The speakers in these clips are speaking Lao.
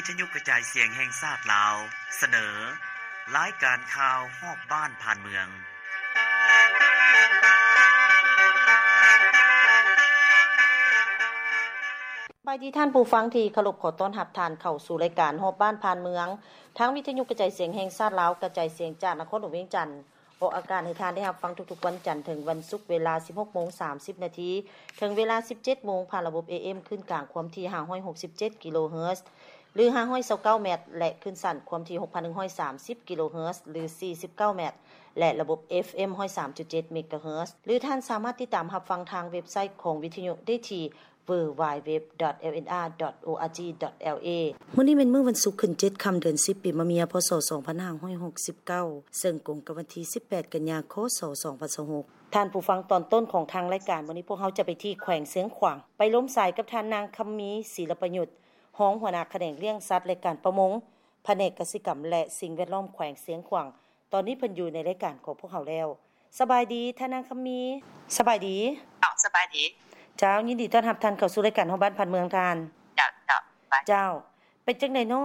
ວິທະຍຸກະຈາຍສຽງແຫ່ງຊາດລາວ ສະເໜີ ລາຍການຂ່າວຮອບບ້ານຜ່ານເມືອງ. ສະບາຍດີທ່ານຜູ້ຟັງທີ່ເຄົາລົບ, ຂໍຕ້ອນຮັບທ່ານເຂົ້າສູ່ລາຍການຮອບບ້ານຜ່ານເມືອງ ທາງວິທະຍຸກະຈາຍສຽງແຫ່ງຊາດລາວ ກະຈາຍສຽງຈາກນະຄອນຫຼວງວຽງຈັນ. ອອກອາກາດໃຫ້ທ່ານໄດ້ຮັບຟັງທຸກໆວັນຈັນເຖິງວັນສຸກ ເວລາສິບຫົກໂມງສາມສິບນາທີ ເຖິງເວລາສິບເຈັດໂມງ ຜ່ານລະບົບ ເອເອັມ ຄື້ນກາງຄວາມຖີ່ຫ້າຮ້ອຍຫົກສິບເຈັດກິໂລເຮີດ ຫຼື ຫ້າຮ້ອຍຊາວເກົ້າແມັດ ແລະ ຄື້ນສັ້ນຄວາມຖີ່ຫົກພັນໜຶ່ງຮ້ອຍສາມສິບກິໂລເຮີດ ຫຼື ສີ່ສິບເກົ້າແມັດ ແລະ ລະບົບ ເອຟເອັມ ຮ້ອຍສາມຈຸດເຈັດເມກາເຮີດ ຫຼື ທ່ານສາມາດຕິດຕາມຮັບຟັງທາງເວັບໄຊຂອງວິທະຍຸໄດ້ທີ່ ดับเบิลยู ดับเบิลยู ดับเบิลยู ดอท เอลเอ็นอาร์ ดอท โออาร์จี ดอท แอลเอ ມື້ນີ້ແມ່ນມື້ວັນສຸກຂຶ້ນເຈັດຄ່ຳເດືອນສິບ ປີມະເມີຍ ພ.ສ. ສອງພັນຫ້າຮ້ອຍຫົກສິບເກົ້າ ເຊິ່ງກົງກັບວັນທີສິບແປດ ກັນຍາ ຄ.ສ. ສອງພັນຊາວຫົກ. ທ່ານຜູ້ຟັງ, ຕອນຕົ້ນຂອງທາງລາຍການມື້ນີ້ ພວກເຮົາຈະໄປທີ່ແຂວງຊຽງຂວາງ ໄປລົມສາຍກັບທ່ານນາງ ຄຳມີ ສີລະປະຍຸດ ຮອງຫົວໜ້າຂະແໜງລ້ຽງສັດ ແລະ ການປະມົງ ພະແນກກະສິກຳ ແລະ ສິ່ງແວດລ້ອມແຂວງຊຽງຂວາງ. ຕອນນີ້ເພິ່ນຢູ່ໃນລາຍການຂອງພວກເຮົາແລ້ວ. ສະບາຍດີທ່ານນາງຄຳມີ. ສະບາຍດີ. ເຈົ້າ ສະບາຍດີ. ເຈົ້າ ຍິນດີຕ້ອນຮັບທ່ານເຂົ້າສູ່ລາຍການຮອບບ້ານຜ່ານເມືອງທ່ານ. ເຈົ້າ ເຈົ້າ ສະບາຍ. ເຈົ້າ ເປັນຈັ່ງໃດນໍ?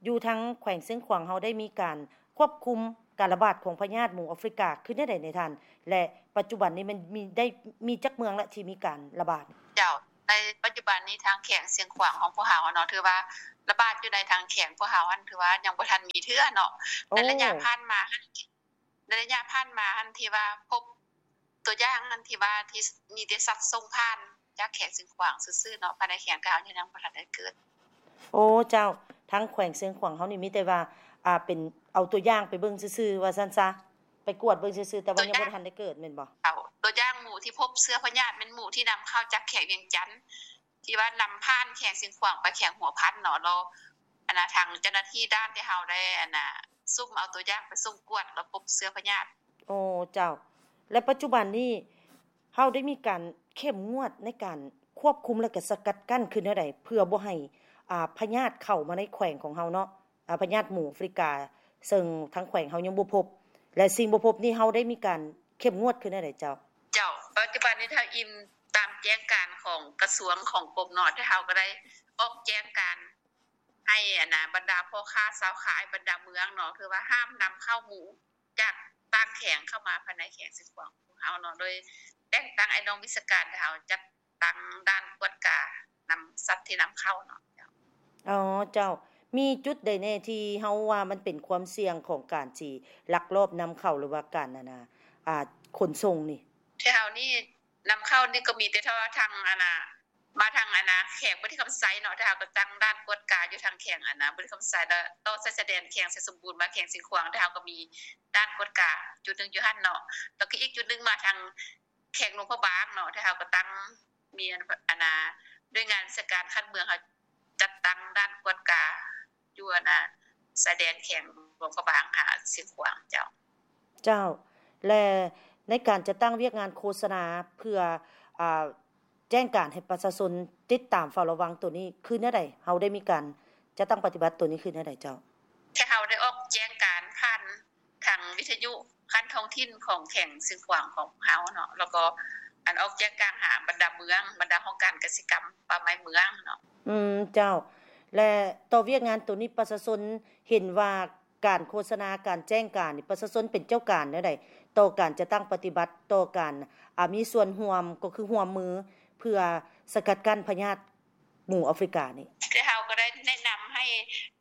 ຢູ່ທາງແຂວງຊຽງຂວາງເຮົາໄດ້ມີການຄວບຄຸມການລະບາດຂອງພະຍາດໝູອາຟຣິກາຄືແນວໃດແດ່ທ່ານ? ແລະ ປັດຈຸບັນນີ້ມັນມີ ໄດ້ມີຈັກເມືອງລະທີ່ມີການລະບາດ? ເຈົ້າ ໃນປັດຈຸບັນນີ້ທາງແຂວງຊຽງຂວາງຂອງພວກເຮົາເນາະ ຖືວ່າລະບາດຢູ່ໃນທາງແຂວງພວກເຮົາຫັ້ນ ຖືວ່າຍັງບໍ່ທັນມີເທື່ອເນາະ. ໂອ້ ໃນໄລຍະຜ່ານມາຫັ້ນ ໃນໄລຍະຜ່ານມາຫັ້ນ ທີ່ວ່າພົບຕົວຢ່າງຫັ້ນ ທີ່ວ່າທີ່ມີແຕ່ສັດສົ່ງຜ່ານຈາກແຂວງຊຽງຂວາງຊື່ໆເນາະ ພາຍໃນແຂວງກະເຮົາຍັງບໍ່ທັນໄດ້ເກີດ. ໂອ້ ເຈົ້າ ທາງແຂວງຊຽງຂວາງເຮົານີ້ມີແຕ່ວ່າ ອ່າ ເປັນເອົາຕົວຢ່າງໄປເບິ່ງຊື່ໆ ວ່າຊັ້ນຊະ ໄປກວດເບິ່ງຊື່ໆ ແຕ່ວ່າຍັງບໍ່ທັນໄດ້ເກີດແມ່ນບໍ່? ເອົາຕົວຢ່າງໝູທີ່ພົບເຊື້ອພະຍາດແມ່ນໝູທີ່ນຳເຂົ້າຈາກແຂວງວຽງຈັນ ທີ່ວ່ານຳຜ່ານແຂວງຊຽງຂວາງໄປແຂວງຫົວພັນເນາະ ແລ້ວອັນນະ ທາງເຈົ້າໜ້າທີ່ດ່ານທີ່ເຮົາໄດ້ອັນນະ ສຸ່ມເອົາຕົວຢ່າງໄປສົ່ງກວດ ແລ້ວພົບເຊື້ອພະຍາດ. ໂອ້ ເຈົ້າ ແລະ ປັດຈຸບັນນີ້ເຮົາໄດ້ມີການເຂັ້ມງວດໃນການຄວບຄຸມ ແລະ ກະສະກັດກັ້ນຄືແນວໃດ ເພື່ອບໍ່ໃຫ້ ອ່າ ພະຍາດເຂົ້າມາໃນແຂວງຂອງເຮົາເນາະ? ອາ ພະຍາດໝູອາຟຣິກາ ເຊິ່ງທາງແຂວງເຮົາຍັງບໍ່ພົບ ແລະ ສິ່ງບໍ່ພົບນີ້ເຮົາໄດ້ມີການເຂັ້ມງວດຄືແນວໃດເຈົ້າ? ເຈົ້າ ປັດຈຸບັນນີ້ຖ້າອີງຕາມແຈ້ງການຂອງກະຊວງຂອງກົມເນາະ ທີ່ເຮົາກໍໄດ້ອອກແຈ້ງການໃຫ້ອັນນະ ບັນດາພໍ່ຄ້າຊາວຂາຍ ບັນດາເມືອງເນາະ ຄືວ່າຫ້າມນຳເຂົ້າໝູຈາກຕ່າງແຂວງເຂົ້າມາພາຍໃນແຂວງຊຽງຂວາງຂອງເຮົາເນາະ ໂດຍແຕ່ງຕັ້ງອ້າຍນ້ອງວິຊາການ ທີ່ເຮົາຈັດ ຕັ້ງດ່ານກວດການຳສັດທີ່ນຳເຂົ້າເນາະ. ເຈົ້າ ອໍ ເຈົ້າ ມີຈຸດໃດແດ່ທີ່ເຮົາວ່າມັນເປັນຄວາມສ່ຽງຂອງການຊິລັກລອບນຳເຂົ້າ ຫຼືວ່າການ ອັນນະ ອ່າ ຂົນສົ່ງນີ້? ແຖວເຮົານີ້ນຳເຂົ້ານີ້ກໍມີແຕ່ເທົ່າທາງ ອັນນະ ມາທາງ ອັນນະ ແຂວງບໍລິຄຳໄຊເນາະ ແຕ່ເຮົາກໍຕັ້ງດ່ານກວດກາຢູ່ທາງແຂວງ ອັນນະ ບໍລິຄຳໄຊ ແລ້ວຕໍ່ຊາຍແດນແຂວງໄຊສົມບູນມາແຂວງຊຽງຂວາງ ແຕ່ເຮົາກໍມີດ່ານກວດກາຈຸດໜຶ່ງຢູ່ຫັ້ນເນາະ ແລ້ວກໍອີກຈຸດໜຶ່ງມາທາງ ແຂວງຫຼວງພະບາງເນາະ ທີ່ເຮົາກໍຕັ້ງ ມີອັນ ອັນນາ ໜ່ວຍງານວິຊາການຂັ້ນເມືອງ ເຮົາຈັດຕັ້ງດ່ານກວດກາຢູ່ ອັນນາ ຊາຍແດນແຂວງຫຼວງພະບາງຫາຊຽງຂວາງ. ເຈົ້າ ເຈົ້າ ແລະ ໃນການຈັດຕັ້ງວຽກງານໂຄສະນາເພື່ອ ອ່າ ແຈ້ງການໃຫ້ປະຊາຊົນຕິດຕາມເຝົ້າລະວັງໂຕນີ້ ຄືແນວໃດ? ເຮົາໄດ້ມີການຈັດຕັ້ງປະຕິບັດໂຕນີ້ຄືແນວໃດເຈົ້າ? ແຕ່ເຮົາໄດ້ອອກແຈ້ງການຜ່ານ ທາງວິທະຍຸຂັ້ນທ້ອງຖິ່ນຂອງແຂວງຊຽງຂວາງຂອງເຮົາເນາະ ແລ້ວກໍອັນອອກແຈ້ງການຫາບັນດາເມືອງ ບັນດາຫ້ອງການກະສິກຳປ່າໄມ້ເມືອງເນາະ. ອືມ ເຈົ້າ ແລະ ຕໍ່ວຽກງານໂຕນີ້ປະຊາຊົນເຫັນວ່າການໂຄສະນາ ການແຈ້ງການນີ້ ປະຊາຊົນເປັນເຈົ້າການແນວໃດ ຕໍ່ການຈັດຕັ້ງປະຕິບັດ ຕໍ່ການ ອາ ມີສ່ວນຮ່ວມ ກໍຄືຮ່ວມມືເພື່ອສະກັດກັ້ນພະຍາດ ໝູອາຟຣິການີ້. ແຕ່ເຮົາກໍໄດ້ແນະນຳໃຫ້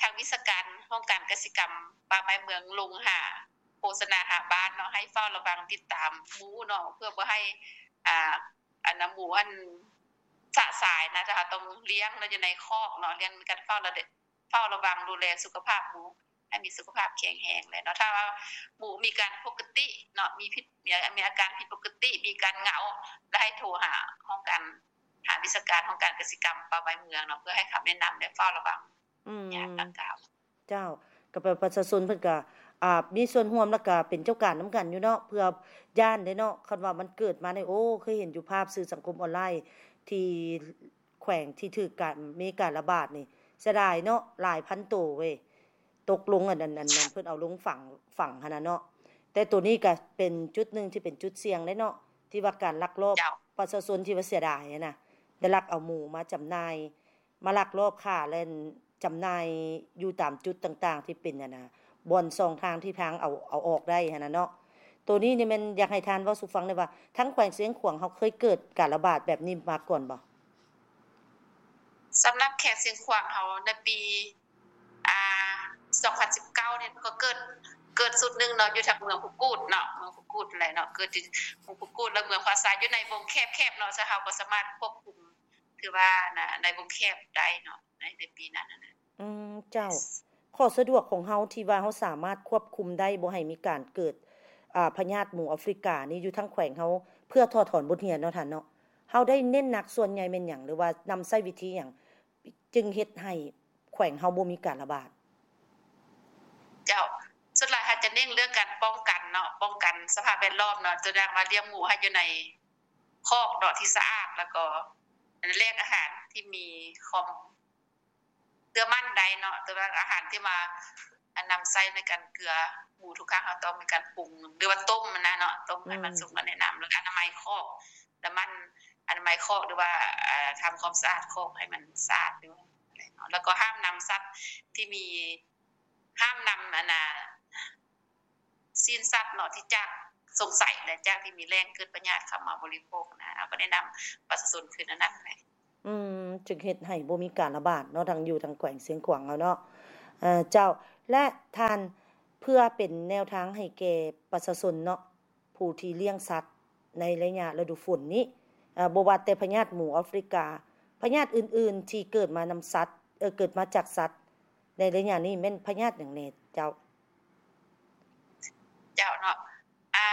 ທາງວິຊາການຫ້ອງການກະສິກຳປ່າໄມ້ເມືອງລົງຫາ ໂຄສະນາຫາບ້ານເນາະ ໃຫ້ເຝົ້າລະວັງຕິດຕາມໝູເນາະ ເພື່ອບໍ່ໃຫ້ ອ່າ ອັນນະ ໝູອັນສະສາຍນະ ແຕ່ເຮົາຕ້ອງລ້ຽງເນາະ ຢູ່ໃນຄອກເນາະ ລ້ຽງ ມີການເຝົ້າລະ ເຝົ້າລະວັງດູແລສຸຂະພາບໝູ ໃຫ້ມີສຸຂະພາບແຂງແຮງແຫຼະເນາະ. ຖ້າວ່າໝູມີການປົກກະຕິເນາະ ມີຜິດ ມີ ມີອາການຜິດປົກກະຕິ ມີການເຫງົາ ແລ້ວໃຫ້ໂທຫາຫ້ອງການ ຫາວິຊາການຫ້ອງການກະສິກຳປ່າໄມ້ເມືອງເນາະ ເພື່ອໃຫ້ຄຳແນະນຳ ແລະ ເຝົ້າລະວັງ ອືມ ຍາມດັ່ງກ່າວ. ເຈົ້າ ກໍແປວ່າປະຊາຊົນເພິ່ນກໍ ອ່າ ມີສ່ວນຮ່ວມ ແລ້ວກໍເປັນເຈົ້າການນຳກັນຢູ່ເນາະ ເພື່ອຢ້ານເດ້ເນາະ ຄັນວ່າມັນເກີດມານີ້ ໂອ້ ເຄີຍເຫັນຢູ່ພາບສື່ສັງຄົມອອນລາຍ ທີ່ແຂວງທີ່ຖືກການ ມີການລະບາດນີ້ ເສຍດາຍເນາະ ຫຼາຍພັນໂຕເວີຍ ຕົກລົງ ອັນ ອັນ ອັນ ເພິ່ນເອົາລົງຝັງ ຝັງຫັ້ນນະເນາະ ແຕ່ໂຕນີ້ກໍເປັນຈຸດໜຶ່ງທີ່ເປັນຈຸດສ່ຽງເດ້ເນາະ ທີ່ວ່າການລັກລອບ ເຈົ້າ ປະຊາຊົນທີ່ວ່າເສຍດາຍຫັ້ນນະ ໄດ້ລັກເອົາໝູມາຈຳໜ່າຍ ມາລັກລອບຄ້າແລ່ນ ຈຳໜ່າຍຢູ່ຕາມຈຸດຕ່າງໆ ທີ່ເປັນ ອັນນ່າ ບ່ອນຊ່ອງທາງທີ່ທາງເອົາ ເອົາອອກໄດ້ຫັ້ນນະເນາະ. ໂຕນີ້ນີ້ແມ່ນຢາກໃຫ້ທ່ານເວົ້າສູ່ຟັງໄດ້ວ່າ ທາງແຂວງຊຽງຂວາງເຮົາເຄີຍເກີດການລະບາດແບບນີ້ມາກ່ອນບໍ່? ສຳລັບແຂວງຊຽງຂວາງເຮົາໃນປີ ອ່າ ສອງພັນສິບເກົ້ານີ້ກໍເກີດ ເກີດຊຸດໜຶ່ງເນາະ ຢູ່ທາງເມືອງພູກູດເນາະ ເມືອງພູກູດຫັ້ນແຫຼະເນາະ ເກີດທີ່ເມືອງພູກູດ ແລະ ເມືອງພາຊາ ຢູ່ໃນວົງແຄບໆເນາະ ເຊິ່ງເຮົາກໍສາມາດຄວບຄຸມ ຖືວ່າໃນ ໃນວົງແຄບໄດ້ເນາະ ໃນ ໃນປີນັ້ນຫັ້ນນະ. ອືມ ເຈົ້າ. ຂໍ້ສະດວກຂອງເຮົາທີ່ວ່າເຮົາສາມາດຄວບຄຸມໄດ້ ບໍ່ໃຫ້ມີການເກີດ ອ່າ ພະຍາດໝູອາຟຣິການີ້ຢູ່ທາງແຂວງເຮົາ ເພື່ອຖອດຖອນບົດຮຽນເນາະທ່ານເນາະ ເຮົາໄດ້ເນັ້ນໜັກສ່ວນໃຫຍ່ແມ່ນຫຍັງ ຫຼືວ່ານຳໃຊ້ວິທີຫຍັງ ຈຶ່ງເຮັດໃຫ້ແຂວງເຮົາບໍ່ມີການລະບາດ? ເຈົ້າ. ສ່ວນຫຼາຍເຮົາຈະເນັ້ນເລື່ອງການປ້ອງກັນເນາະ ປ້ອງກັນສະພາບແວດລ້ອມເນາະ ຕົວຢ່າງວ່າລ້ຽງໝູໃຫ້ຢູ່ໃນຄອກເນາະທີ່ສະອາດ ແລ້ວກໍແຫຼ່ງອາຫານທີ່ມີຄວາມ ເກືອມັນໄດ້ເນາະ ແຕ່ວ່າອາຫານທີ່ວ່າ ອັນນຳໃຊ້ໃນການເກືອໝູທຸກຄັ້ງ ເຮົາຕ້ອງມີການປຸງ ຫຼືວ່າຕົ້ມຫັ້ນນະເນາະ ຕົ້ມໃຫ້ມັນ ອືມ ສຸກ ແລ້ວແນະນຳ ແລ້ວກໍອະນາໄມຄອກ ແລ້ວມັນ ອະນາໄມຄອກ ຫຼືວ່າ ອ່າ ທຳຄວາມສະອາດຄອກໃຫ້ມັນສະອາດຢູ່ ແລ້ວກໍຫ້າມນຳສັດທີ່ມີ ຫ້າມນຳ ອັນນ່າ ຊີ້ນສັດເນາະ ທີ່ຈາກສົງໄສ ແລະ ຈາກທີ່ມີແຫຼ່ງເກີດພະຍາດເຂົ້າມາບໍລິໂພກນະ ເຮົາກໍແນະນຳປະຊາຊົນຄືແນວນັ້ນແຫຼະ. ອືມ ຈຶ່ງເຮັດໃຫ້ບໍ່ມີການລະບາດເນາະ ທາງຢູ່ທາງແຂວງຊຽງຂວາງເຮົາເນາະ. ເຈົ້າ ແລະ ທ່ານ ເພື່ອເປັນແນວທາງໃຫ້ແກ່ປະຊາຊົນເນາະ ຜູ້ທີ່ລ້ຽງສັດໃນໄລຍະລະດູຝົນນີ້ ເອີ ບໍ່ວ່າແຕ່ພະຍາດໝູອາຟຣິກາ ພະຍາດອື່ນໆທີ່ເກີດມານຳສັດ ເອີ ເກີດມາຈາກສັດ ໃນໄລຍະນີ້ແມ່ນພະຍາດຫຍັງແດ່ເຈົ້າ? ເຈົ້າເນາະ ອ່າ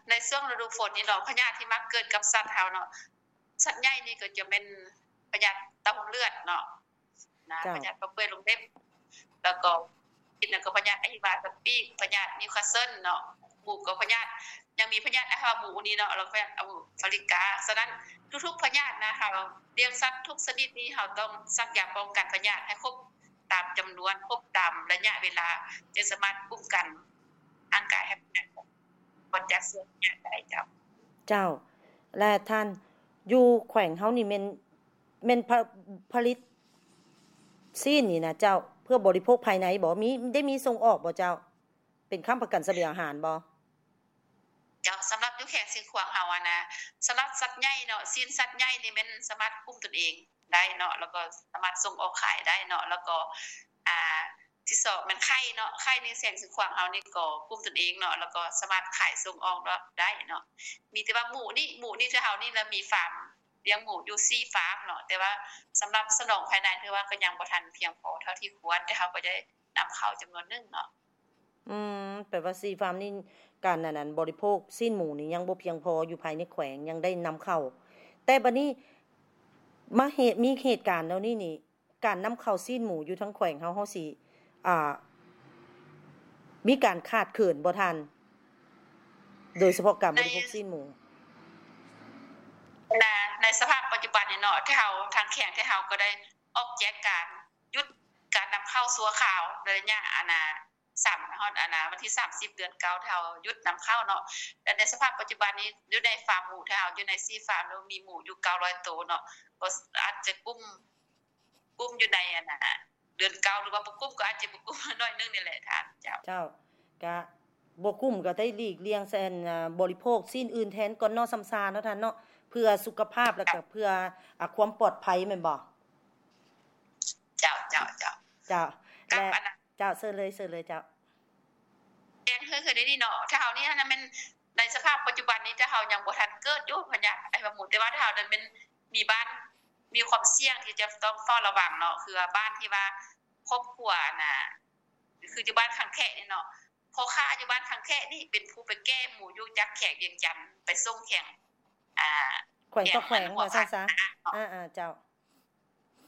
ໃນຊ່ວງລະດູຝົນນີ້ເນາະ ພະຍາດທີ່ມັກເກີດກັບສັດເຮົາເນາະ ສັດໃຫຍ່ນີ້ກໍຈະແມ່ນພະຍາດເຕົ້າເລືອດເນາະ ນະ ເຈົ້າ ພະຍາດປາກເປື່ອຍລົງເລັບ ແລ້ວກໍ ກິນແລ້ວກໍພະຍາດອະຫິວາຕະປີກ ພະຍາດນິວຄາສເຊິນເນາະ ໝູກໍພະຍາດ ຍັງມີພະຍາດອາຫາໝູນີ້ເນາະ ແລ້ວກໍພະຍາດອາຟາລິກາ. ສະນັ້ນ ທຸກໆພະຍາດນະ ເຮົາລ້ຽງສັດທຸກຊະນິດນີ້ ເຮົາຕ້ອງສັກຢາປ້ອງກັນພະຍາດໃຫ້ຄົບຕາມຈຳນວນ ຄົບຕາມໄລຍະເວລາ ຈຶ່ງສາມາດປ້ອງກັນຮ່າງກາຍໃຫ້ພະຍາດ ບໍ່ຈັກເຊື້ອພະຍາດໄດ້ເຈົ້າ. ເຈົ້າ ແລະ ທ່ານ ຢູ່ແຂວງເຮົານີ້ແມ່ນ ແມ່ນຜະ ຜະລິດຊີ້ນນີ້ນະເຈົ້າ ເພື່ອບໍລິໂພກພາຍໃນບໍ່? ມີ ໄດ້ມີສົ່ງອອກບໍ່ເຈົ້າ? ເປັນຄ້ຳປະກັນສະບຽງອາຫານບໍ່? ເຈົ້າ ສຳລັບຢູ່ແຂວງຊຽງຂວາງເຮົາຫັ້ນນະ ສຳລັບສັດໃຫຍ່ເນາະ ຊີ້ນສັດໃຫຍ່ນີ້ແມ່ນສາມາດກຸ້ມຕົນເອງ ໄດ້ເນາະ ແລ້ວກໍສາມາດສົ່ງອອກຂາຍໄດ້ເນາະ ແລ້ວກໍ ອ່າ ທີສອງແມ່ນໄຂ່ເນາະ ໄຂ່ໃນແຂວງຊຽງຂວາງເຮົານີ້ກໍກຸ້ມຕົນເອງເນາະ ແລ້ວກໍສາມາດຂາຍສົ່ງອອກນອກໄດ້ເນາະ. ມີແຕ່ວ່າໝູນີ້ ໝູນີ້ ເຮົານີ້ລະມີຟາມລ້ຽງໝູຢູ່ສີ່ຟາມເນາະ ແຕ່ວ່າສຳລັບສະໜອງພາຍໃນ ຖືວ່າກໍຍັງບໍ່ທັນພຽງພໍເທົ່າທີ່ຄວນ ແຕ່ເຮົາກໍໄດ້ນຳເຂົ້າຈຳນວນໜຶ່ງເນາະ. ອືມ ແປວ່າສີ່ຟາມນີ້ ການ ອັນນັ້ນ ບໍລິໂພກຊີ້ນໝູນີ້ຍັງບໍ່ພຽງພໍຢູ່ພາຍໃນແຂວງ ຍັງໄດ້ນຳເຂົ້າ ແຕ່ບັດນີ້ມາເຫດ ມີເຫດການແນວນີ້ນີ້ ການນຳເຂົ້າຊີ້ນໝູຢູ່ທາງແຂວງເຮົາ ເຮົາຊິ ອ່າ ມີການຂາດເຂີນບໍ່ທ່ານ? ໂດຍສະເພາະການບໍລິໂພກຊີ້ນໝູ. ໃນ ໃນສະພາບປັດຈຸບັນນີ້ເນາະ ທີ່ເຮົາ ທາງແຂວງທີ່ເຮົາກໍໄດ້ອອກແຈ້ງການຢຸດການນຳເຂົ້າຊົ່ວຄາວ ໃນໄລຍະ ອັນນ່າ ສາມ ຮອດ ອັນນ່າ ວັນທີສາມສິບ ເດືອນເກົ້າ ທີ່ເຮົາຢຸດນຳເຂົ້າເນາະ ແລະ ໃນສະພາບປັດຈຸບັນນີ້ ຢູ່ໃນຟາມໝູທີ່ເຮົາ ຢູ່ໃນສີ່ຟາມ ມີໝູຢູ່ເກົ້າຮ້ອຍໂຕເນາະ ກໍອາດຈະກຸ້ມ ກຸ້ມຢູ່ໃນ ອັນນ່າ ເດືອນເກົ້າ ຫຼືວ່າບໍ່ກຸ້ມ ກໍອາດຈະບໍ່ກຸ້ມໜ້ອຍໜຶ່ງນີ້ແຫຼະທ່ານ. ເຈົ້າ ເຈົ້າ ກະບໍ່ກຸ້ມກໍໄດ້ຫຼີກລ່ຽງ ອັນ ບໍລິໂພກຊີ້ນອື່ນແທນກ່ອນເນາະ ສ່ຳຊາເນາະທ່ານເນາະ ເພື່ອສຸຂະພາບ ແລ້ວກໍເພື່ອ ອາ ຄວາມປອດໄພແມ່ນບໍ່? ເຈົ້າ ເຈົ້າ ເຈົ້າ ເຈົ້າ ແລະ ເຈົ້າ ເຊີນເລີຍ ເຊີນເລີຍເຈົ້າ. ແຈ້ງເທື່ອໆ ນີ້ເນາະ ແຖວເຮົານີ້ຫັ້ນນະແມ່ນໃນສະພາບປັດຈຸບັນນີ້ ແຖວເຮົາຍັງບໍ່ທັນເກີດຢູ່ພະຍາດໄອຫວັດໝູ ແຕ່ວ່າແຖວເຮົານັ້ນແມ່ນມີບ້ານມີຄວາມສ່ຽງທີ່ຈະຕ້ອງເຝົ້າລະວັງເນາະ ຄືວ່າບ້ານທີ່ວ່າຄອບຄົວ ອັນນ່າ ຄືຢູ່ບ້ານຄັງແຄະນີ້ເນາະ ພໍ່ຄ້າຢູ່ບ້ານຄັງແຄະນີ້ເປັນຜູ້ໄປແກ່ໝູຢູ່ຈາກແຂວງວຽງຈັນໄປສົ່ງແຂວງ ອ່າ ແຂວງຕໍ່ແຂວງ ແຂວງ ວ່າຊັ້ນຊະ ເນາະ ອ່າໆ ເຈົ້າ.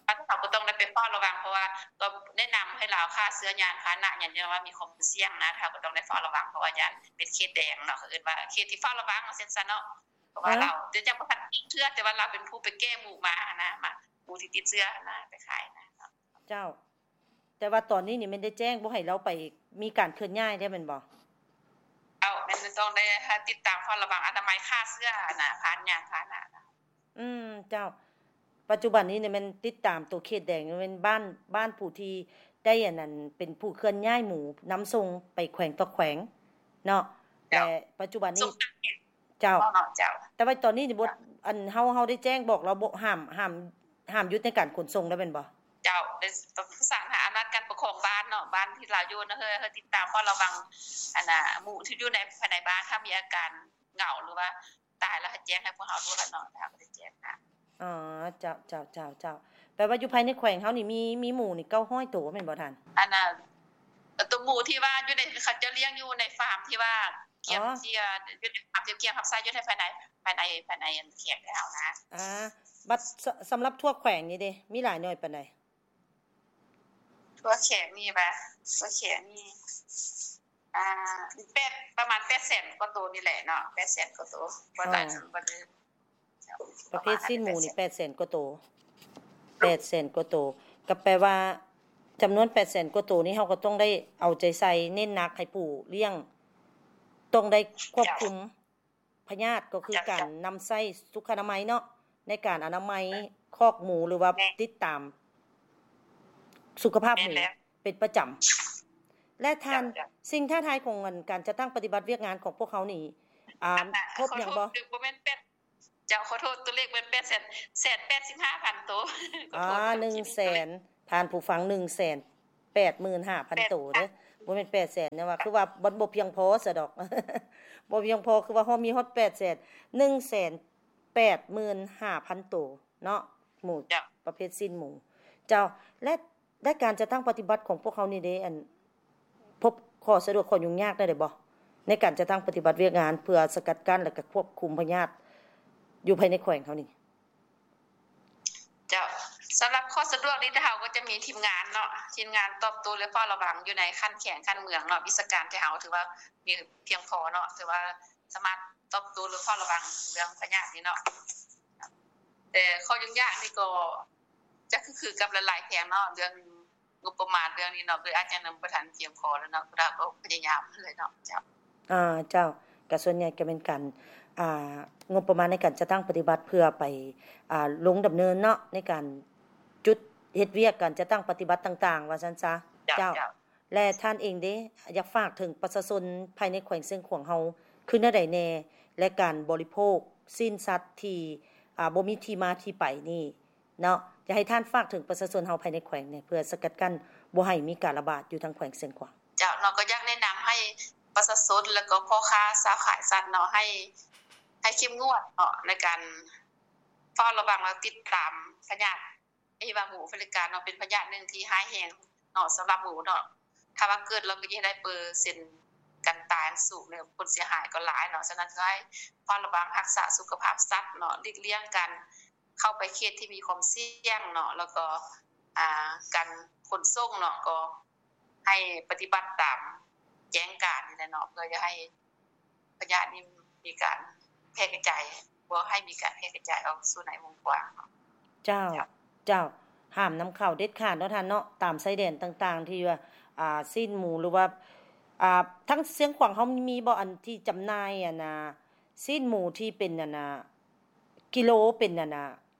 ເຮົາກໍຕ້ອງໄດ້ໄປເຝົ້າລະວັງ ເພາະວ່າກໍແນະນຳໃຫ້ລາວຂ້າເຊື້ອຍານພາຫະນະຫຍັງ ຍ້ອນວ່າມີຄວາມສ່ຽງນະ ເຮົາກໍຕ້ອງໄດ້ເຝົ້າລະວັງ ເພາະວ່າຢ້ານເປັນເຂດແດງເນາະ ເຂົາເອີ້ນວ່າເຂດທີ່ເຝົ້າລະວັງວ່າຊັ້ນຊະເນາະ ເພາະວ່າລາວ ເຈົ້າ ແຕ່ຍັງບໍ່ທັນຕິດເຊື້ອ ແຕ່ວ່າລາວເປັນຜູ້ໄປແກ່ໝູມາຫັ້ນນະ ໝູທີ່ຕິດເຊື້ອຫັ້ນນະ ໄປຂາຍນະ ເຈົ້າ. ແຕ່ວ່າຕອນນີ້ນີ້ແມ່ນໄດ້ແຈ້ງບໍ່ໃຫ້ລາວໄປມີການເຄື່ອນຍ້າຍແລ້ວແມ່ນບໍ່? ເຈົ້າ ແມ່ນຕ້ອງໄດ້ຕິດຕາມເຝົ້າລະວັງອະນາໄມຂ້າເຊື້ອຫັ້ນນະ ຜ່ານຍານພາຫະນະ. ອືມ ເຈົ້າ. ປັດຈຸບັນນີ້ນີ້ແມ່ນຕິດຕາມໂຕເຂດແດງ ແມ່ນບ້ານ ບ້ານຜູ້ທີ່ໄດ້ອັນນັ້ນ ເປັນຜູ້ເຄື່ອນຍ້າຍໝູນຳສົ່ງໄປແຂວງຕໍ່ແຂວງເນາະ. ເຈົ້າ. ແລະ ປັດຈຸບັນນີ້ ເຈົ້າ ເນາະ ເຈົ້າ. ແຕ່ວ່າຕອນນີ້ນີ້ບໍ່ ເຈົ້າ ອັນ ເຮົາ ເຮົາໄດ້ແຈ້ງບອກລາວບໍ່ ຫ້າມ ຫ້າມ ຫ້າມຢຸດໃນການຂົນສົ່ງແລ້ວແມ່ນບໍ່? ເຈົ້າ ໄດ້ປະສານຫາອຳນາດການປົກຄອງບ້ານເນາະ ບ້ານທີ່ລາວຢູ່ນະ ເຮີ ເຮີ ຕິດຕາມເຝົ້າລະວັງ ອັນນ່າ ໝູທີ່ຢູ່ໃນ ພາຍໃນບ້ານ ຖ້າມີອາການເຫງົາ ຫຼືວ່າຕາຍແລ້ວ ໃຫ້ແຈ້ງໃຫ້ພວກເຮົາໂລດລະເນາະ ເຮົາກໍໄດ້ແຈ້ງນະ. ອໍ ເຈົ້າ ເຈົ້າ ເຈົ້າ ເຈົ້າ. ແປວ່າຢູ່ພາຍໃນແຂວງເຮົານີ້ມີ ມີໝູນີ້ເກົ້າຮ້ອຍໂຕແມ່ນບໍ່ທ່ານ? ອັນນ່າ ໂຕໝູທີ່ວ່າຢູ່ໃນ ເຂົາເຈົ້າລ້ຽງຢູ່ໃນຟາມທີ່ວ່າ ກຽມ ອໍ ທີ່ວ່າຢູ່ໃນຄວາມທີ່ກຽມຮັບໃຊ້ຢູ່ໃນພາຍໃນ ພາຍໃນ ພາຍໃນແຂວງເຮົານະ. ອ່າ ບັດ ສ- ສຳລັບທົ່ວແຂວງນີ້ເດ ມີຫຼາຍໜ່ວຍປານໃດ? ທົ່ວແຂວງນີ້ຫວາ? ທົ່ວແຂວງນີ້ ອ່າ ແປດ ປະມານແປດແສນກວ່າໂຕນີ້ແຫຼະເນາະ ແປດແສນກວ່າໂຕ ບໍ່ຫຼາຍ ອໍ ບໍ່ເກີນ. ປະເພດຊີ້ນໝູນີ້ແປດແສນກວ່າໂຕ ແປດແສນກວ່າໂຕ ກໍແປວ່າຈຳນວນແປດແສນກວ່າໂຕນີ້ ເຮົາກໍຕ້ອງໄດ້ເອົາໃຈໃສ່ ເນັ້ນໜັກໃຫ້ຜູ້ລ້ຽງ ຕ້ອງໄດ້ຄວບຄຸມ ເຈົ້າ ພະຍາດ ກໍຄື ເຈົ້າ ການ ເຈົ້າ ນຳໃຊ້ສຸຂະອະນາໄມເນາະ ໃນການອະນາໄມ ແມ່ນ ຄອກໝູ ຫຼືວ່າ ແມ່ນ ຕິດຕາມສຸຂະພາບໝູ ແມ່ນແລ້ວ ເປັນປະຈຳ. ແລະທ່ານ ເຈົ້າ ເຈົ້າ ສິ່ງທ້າທາຍຂອງ ອັນ ການຈັດຕັ້ງປະຕິບັດວຽກງານຂອງພວກເຮົານີ້ ອ່າ ອັນນ່າ ພົບຫຍັງບໍ່? ຂໍໂທດ ບໍ່ແມ່ນແປດ ເຈົ້າ ຂໍໂທດ ຕົວເລກແມ່ນແປດແສນ ແສນແປດສິບຫ້າພັນໂຕ. ອ່າ ໜຶ່ງແສນ ທ່ານຜູ້ຟັງ ໜຶ່ງແສນແປດໝື່ນຫ້າພັນໂຕເດີ້ ບໍ່ແມ່ນແປດແສນ ແຕ່ວ່າຄືວ່າມັນບໍ່ພຽງພໍຊະດອກ ບໍ່ພຽງພໍ ຄືວ່າເຮົາມີຮອດແປດແສນ ໜຶ່ງແສນແປດໝື່ນຫ້າພັນໂຕເນາະ ໝູ ເຈົ້າ ປະເພດຊີ້ນໝູ ເຈົ້າ. ແລະ ແລະ ການຈັດຕັ້ງປະຕິບັດຂອງພວກເຮົານີ້ເດ້ ອັນ ພົບຂໍ້ສະດວກ ຂໍ້ຫຍຸ້ງຍາກແນວໃດບໍ່ ໃນການຈັດຕັ້ງປະຕິບັດວຽກງານ ເພື່ອສະກັດກັ້ນ ແລະ ກະຄວບຄຸມພະຍາດຢູ່ພາຍໃນແຂວງເຮົານີ້? ເຈົ້າ ສຳລັບຂໍ້ສະດວກນີ້ ເຮົາກໍຈະມີທີມງານເນາະ ທີມງານຕອບໂຕ້ ແລະ ເຝົ້າລະວັງຢູ່ໃນຂັ້ນແຂວງ ຂັ້ນເມືອງເນາະ ວິຊາການທີ່ເຮົາຖືວ່າມີພຽງພໍເນາະ ຖືວ່າສາມາດຕອບໂຕ້ ຫຼື ເຝົ້າລະວັງເລື່ອງພະຍາດນີ້ເນາະ. ແຕ່ຂໍ້ຫຍຸ້ງຍາກນີ້ກໍຈະຄືໆກັບຫຼາຍໆແຂວງເນາະ ເລື່ອງງົບປະມານເລື່ອງນີ້ເນາະ ເລີຍອາດຈະຍັງບໍ່ທັນພຽງພໍແລ້ວເນາະ ພວກເຮົາກໍພະຍາຍາມຫັ້ນແຫຼະເນາະ. ເຈົ້າ. ອ່າ ເຈົ້າ ກໍສ່ວນໃຫຍ່ກໍແມ່ນການ ອ່າ ງົບປະມານໃນການຈັດຕັ້ງປະຕິບັດເພື່ອໄປ ອ່າ ລົງດຳເນີນເນາະ ໃນການຈຸດເຮັດວຽກ ການຈັດຕັ້ງປະຕິບັດຕ່າງໆ ວ່າຊັ້ນຊະ. ເຈົ້າ ເຈົ້າ ເຈົ້າ. ແລະ ທ່ານເອງເດ ຢາກຝາກເຖິງປະຊາຊົນພາຍໃນແຂວງຊຽງຂວາງເຮົາຄືແນວໃດແດ່ ແລະ ການບໍລິໂພກຊີ້ນສັດທີ່ ອ່າ ບໍ່ມີທີ່ມາທີ່ໄປນີ້ເນາະ ຢາກໃຫ້ທ່ານຝາກເຖິງປະຊາຊົນເຮົາພາຍໃນແຂວງແດ່ ເພື່ອສະກັດກັ້ນບໍ່ໃຫ້ມີການລະບາດຢູ່ທາງແຂວງຊຽງຂວາງ? ເຈົ້າເນາະ ກໍຢາກແນະນຳໃຫ້ປະຊາຊົນ ແລ້ວກໍພໍ່ຄ້າຊາວຂາຍສັດເນາະ ໃຫ້ ໃຫ້ເຂັ້ມງວດເນາະ ໃນການເຝົ້າລະວັງ ແລະ ຕິດຕາມພະຍາດ ທີ່ວ່າໝູແອຟຣິກາເນາະ ເປັນພະຍາດໜຶ່ງທີ່ຮ້າຍແຮງເນາະ ສຳລັບໝູເນາະ ຖ້າວ່າເກີດແລ້ວກໍຈະເຮັດໃຫ້ເປີເຊັນການຕາຍມັນສູງເນາະ ຜົນເສຍຫາຍກໍຫຼາຍເນາະ. ສະນັ້ນກໍໃຫ້ເຝົ້າລະວັງຮັກສາສຸຂະພາບສັດເນາະ ຫຼີກລ່ຽງການເຂົ້າໄປເຂດທີ່ມີຄວາມສ່ຽງເນາະ ແລ້ວກໍ ອ່າ ການຂົນສົ່ງເນາະ ກໍໃຫ້ປະຕິບັດຕາມແຈ້ງການນີ້ແຫຼະເນາະ ເພື່ອຢ່າໃຫ້ ພະຍາດນີ້ມີການແຜ່ກະຈາຍ ບໍ່ໃຫ້ມີການແຜ່ກະຈາຍອອກສູ່ໃນວົງກວ້າງເນາະ. ເຈົ້າ ເຈົ້າ ເຈົ້າ ຫ້າມນຳເຂົ້າເດັດຂາດເນາະທ່ານເນາະ ຕາມຊາຍແດນຕ່າງໆ ທີ່ວ່າ ອ່າ ຊີ້ນໝູ ຫຼືວ່າ ອ່າ ທາງຊຽງຂວາງເຮົາມີບໍ່ ອັນທີ່ຈຳໜ່າຍ ອັນນ່າ ຊີ້ນໝູທີ່ເປັນ ອັນນ່າ ກິໂລ ເປັນ ອັນນ່າ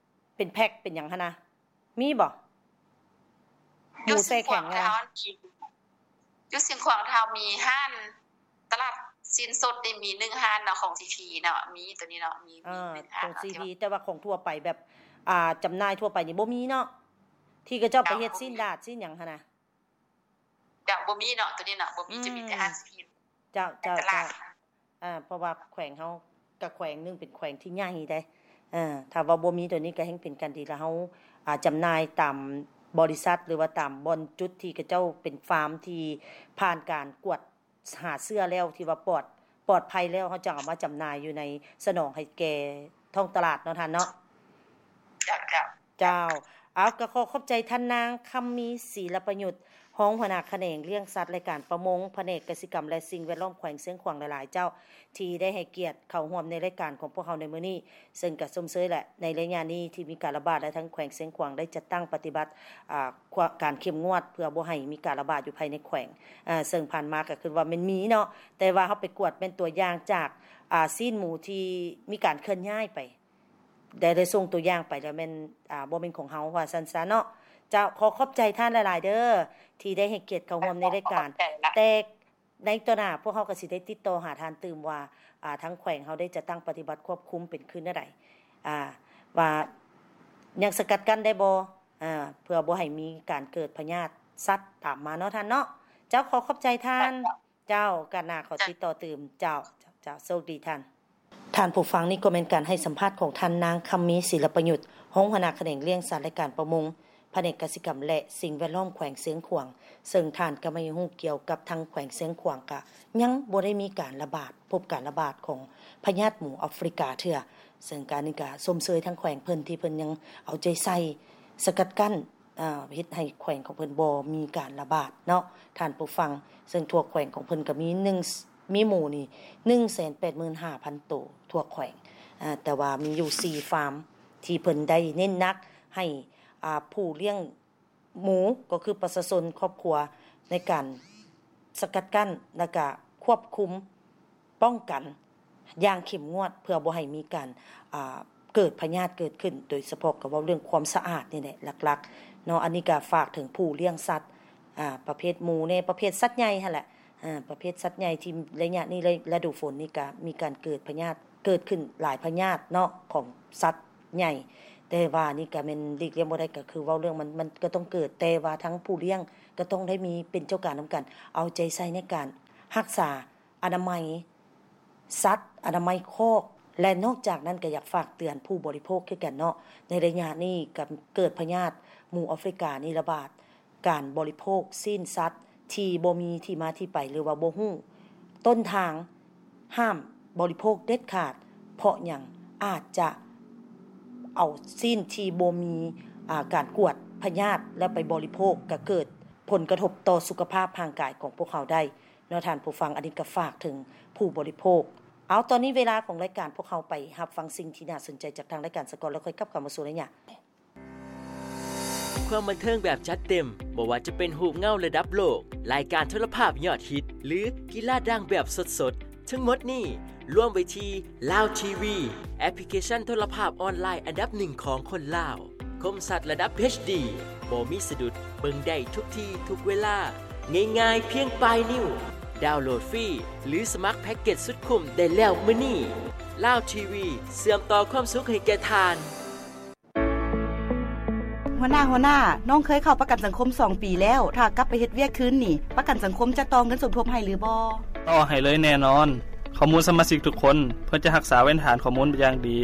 ເປັນແພັກ ເປັນຫຍັງຫັ້ນນະ? ມີບໍ່? ໝູແຊ່ແຂງນະ? ຢູ່ຊຽງຂວາງເຮົາມີຮ້ານຕະຫຼາດຊີ້ນສົດນີ້ ມີໜຶ່ງຮ້ານເນາະ ຂອງຊີພີເນາະ ມີໂຕນີ້ເນາະ ມີ ມີ ອ່າ ໜຶ່ງຮ້ານຂອງຊີພີ ແຕ່ວ່າຂອງທົ່ວໄປແບບ ອ່າ ຈຳໜ່າຍທົ່ວໄປນີ້ບໍ່ມີເນາະ ທີ່ເຂົາເຈົ້າໄປເຮັດຊີ້ນດາດຊີ້ນຫຍັງຫັ້ນນະ? ເຈົ້າ ບໍ່ມີເນາະ ໂຕນີ້ເນາະ ບໍ່ມີ ອືມ ຈະມີແຕ່ຮ້ານຊີພີ ເຈົ້າ ເຈົ້າ ເຈົ້າ. ອ່າ ເພາະວ່າແຂວງເຮົາກະແຂວງໜຶ່ງເປັນແຂວງທີ່ໃຫຍ່ເດ້ ເອີ ຖ້າວ່າບໍ່ມີໂຕນີ້ກະແຮ່ງເປັນການດີ ລະເຮົາ ອ່າ ຈຳໜ່າຍຕາມບໍລິສັດ ຫຼືວ່າຕາມບ່ອນຈຸດທີ່ເຂົາເຈົ້າເປັນຟາມທີ່ຜ່ານການກວດຫາເຊື້ອແລ້ວ ທີ່ວ່າປອດ ປອດໄພແລ້ວ ເຮົາຈັ່ງເອົາມາຈຳໜ່າຍຢູ່ໃນ ສະໜອງໃຫ້ແກ່ທ້ອງຕະຫຼາດເນາະທ່ານເນາະ. ເຈົ້າ ເຈົ້າ. ເຈົ້າ ເອົາ ກໍຂໍຂອບໃຈທ່ານນາງ ຄຳມີ ສີລະປະຍຸດ ຮອງຫົວໜ້າຂະແໜງລ້ຽງສັດ ແລະ ການປະມົງ ພະແນກກະສິກຳ ແລະ ສິ່ງແວດລ້ອມ ແຂວງຊຽງຂວາງຫຼາຍໆເຈົ້າ ທີ່ໄດ້ໃຫ້ກຽດເຂົ້າຮ່ວມໃນລາຍການຂອງພວກເຮົາໃນມື້ນີ້ ເຊິ່ງກະຊົມເຊີຍແຫຼະ ໃນໄລຍະນີ້ທີ່ມີການລະບາດ ແລະ ທາງແຂວງຊຽງຂວາງໄດ້ຈັດຕັ້ງປະຕິບັດ ອ່າ ຄວາມ ການເຂັ້ມງວດ ເພື່ອບໍ່ໃຫ້ມີການລະບາດຢູ່ພາຍໃນແຂວງ ເຊິ່ງຜ່ານມາກະຄືວ່າແມ່ນມີເນາະ ແຕ່ວ່າເຮົາໄປກວດແມ່ນຕົວຢ່າງຈາກ ອ່າ ຊີ້ນໝູທີ່ມີການເຄື່ອນຍ້າຍໄປ ໄດ້ ໄດ້ສົ່ງຕົວຢ່າງໄປແລ້ວແມ່ນ ອ່າ ບໍ່ແມ່ນຂອງເຮົາ ວ່າຊັ້ນຊະເນາະ. ເຈົ້າ ຂໍຂອບໃຈທ່ານຫຼາຍໆເດີ ທີ່ໄດ້ໃຫ້ກຽດເຂົ້າຮ່ວມໃນລາຍການ. ແຕ່ໃນຕໍ່ໜ້າພວກເຮົາກໍຊິໄດ້ຕິດຕໍ່ຫາທ່ານຕື່ມວ່າ ອ່າ ທາງແຂວງເຮົາໄດ້ຈັດຕັ້ງປະຕິບັດຄວບຄຸມເປັນຄືແນວໃດ ອ່າ ວ່າຍັງສະກັດກັ້ນໄດ້ບໍ່ ອ່າ ເພື່ອບໍ່ໃຫ້ມີການເກີດພະຍາດສັດຕາມມາເນາະທ່ານເນາະ. ເຈົ້າ ຂໍຂອບໃຈທ່ານ. ເຈົ້າ ໂອກາດໜ້າຂໍຕິດຕໍ່ຕື່ມ. ເຈົ້າ ເຈົ້າ ເຈົ້າ ໂຊກດີທ່ານ. ທ່ານຜູ້ຟັງ, ນີ້ກໍແມ່ນການໃຫ້ສຳພາດຂອງທ່ານນາງ ຄຳມີ ສິລະປະຍຸດ ຮອງຫົວໜ້າຂະແໜງລ້ຽງສັດ ແລະ ການປະມົງ ພະແນກກະສິກຳ ແລະ ສິ່ງແວດລ້ອມ ແຂວງຊຽງຂວາງ, ເຊິ່ງທ່ານກໍມາຮູ້ກ່ຽວກັບທາງແຂວງຊຽງຂວາງ ກະຍັງບໍ່ໄດ້ມີການລະບາດ, ພົບການລະບາດຂອງພະຍາດໝູອາຟຣິກາເທື່ອ, ເຊິ່ງການນີ້ກະຊົມເຊີຍທາງແຂວງເພິ່ນ ທີ່ເພິ່ນຍັງເອົາໃຈໃສ່ສະກັດກັ້ນ ເຮັດໃຫ້ແຂວງຂອງເພິ່ນບໍ່ມີການລະບາດເນາະທ່ານຜູ້ຟັງ, ເຊິ່ງທົ່ວແຂວງຂອງເພິ່ນກໍມີໜຶ່ງ ມີໝູນີ້ໜຶ່ງແສນແປດໝື່ນຫ້າພັນໂຕທົ່ວແຂວງ, ແຕ່ວ່າມີຢູ່ສີ່ຟາມທີ່ເພິ່ນໄດ້ເນັ້ນໜັກໃຫ້ ອ່າ ຜູ້ລ້ຽງໝູ ກໍຄືປະຊາຊົນຄອບຄົວໃນການສະກັດກັ້ນ ແລ້ວກະຄວບຄຸມ ປ້ອງກັນຢ່າງເຂັ້ມງວດ ເພື່ອບໍ່ໃຫ້ມີການ ອ່າ ເກີດພະຍາດເກີດຂຶ້ນ, ໂດຍສະເພາະກໍເວົ້າເລື່ອງຄວາມສະອາດນີ້ແຫຼະຫຼັກໆເນາະ. ອັນນີ້ກໍຝາກເຖິງຜູ້ລ້ຽງສັດ ອ່າ ປະເພດໝູແດ່ ປະເພດສັດໃຫຍ່ຫັ້ນແຫຼະ ອ່າ ປະເພດສັດໃຫຍ່ທີ່ໄລຍະນີ້ ລະດູຝົນນີ້ກໍມີການເກີດພະຍາດເກີດຂຶ້ນຫຼາຍພະຍາດເນາະ ຂອງສັດໃຫຍ່, ແຕ່ວ່ານີ້ກໍແມ່ນຫຼີກລ່ຽງບໍ່ໄດ້ ກໍຄືເວົ້າເລື່ອງມັນ ມັນກໍຕ້ອງເກີດ, ແຕ່ວ່າທັງຜູ້ລ້ຽງກໍຕ້ອງໄດ້ມີເປັນເຈົ້າການນຳກັນ ເອົາໃຈໃສ່ໃນການຮັກສາ ອະນາໄມສັດ, ອະນາໄມຄອກ ແລະ ນອກຈາກນັ້ນກໍຢາກຝາກເຕືອນຜູ້ບໍລິໂພກຄືກັນເນາະ. ໃນໄລຍະນີ້ກໍເກີດພະຍາດໝູອາຟຣິການີ້ລະບາດ, ການບໍລິໂພກຊີ້ນສັດທີ່ບໍ່ມີທີ່ມາທີ່ໄປ ຫຼືວ່າບໍ່ຮູ້ຕົ້ນທາງ ຫ້າມບໍລິໂພກເດັດຂາດ. ເພາະຫຍັງ? ອາດຈະເອົາຊີ້ນທີ່ບໍ່ມີ ອ່າ ການກວດພະຍາດ ແລ້ວໄປບໍລິໂພກ ກໍເກີດຜົນກະທົບຕໍ່ສຸຂະພາບຮ່າງກາຍຂອງພວກເຮົາໄດ້. ເນາະທ່ານຜູ້ຟັງ, ອັນນີ້ກໍຝາກເຖິງຜູ້ບໍລິໂພກ. ເອົາ ຕອນນີ້ເວລາຂອງລາຍການ ພວກເຮົາໄປຮັບຟັງສິ່ງທີ່ໜ້າສົນໃຈຈາກທາງລາຍການສາກ່ອນ ແລ້ວຄ່ອຍກັບເຂົ້າມາສູ່ໄລຍະ. ຄວາມບັນເທີງແບບຈັດເຕັມ, ບໍ່ວ່າຈະເປັນຮູບເງົາລະດັບໂລກ, ລາຍການໂທລະພາບຍອດຮິດ ຫຼື ກິລາດັງແບບສົດໆ, ທັງໝົດນີ້ລວມໄວ້ທີ່ ລາວ ທີ ວີ, ແອັບພລິເຄຊັນໂທລະພາບອອນລາຍອັນດັບໜຶ່ງຂອງຄົນລາວ. ຄົມຊັດລະດັບ ເອັດ ດີ ບໍ່ມີສະດຸດ, ເບິ່ງໄດ້ທຸກທີ່ທຸກເວລາ, ງ່າຍໆພຽງປາຍນິ້ວ. ດາວໂຫຼດຟຣີ ຫຼື ສະໝັກແພັກເກັດສຸດຄຸ້ມໄດ້ແລ້ວມື້ນີ້. ລາວ ທີ ວີ ເຊື່ອມຕໍ່ຄວາມສຸກໃຫ້ແກ່ທ່ານ. ຫົວໜ້າ, ຫົວໜ້າ, ນ້ອງເຄີຍເຂົ້າປະກັນສັງຄົມສອງປີແລ້ວ, ຖ້າກັບໄປເຮັດວຽກຄືນນີ້, ປະກັນສັງຄົມຈະຕໍ່ເງິນສົມທົບໃຫ້ຫຼືບໍ່? ຕໍ່ໃຫ້ເລີຍແນ່ນອນ. ຂໍ້ມູນສະມາຊິກທຸກຄົນ ເພິ່ນຈະຮັກສາເວນຖານຂໍ້ມູນຢ່າງດີ.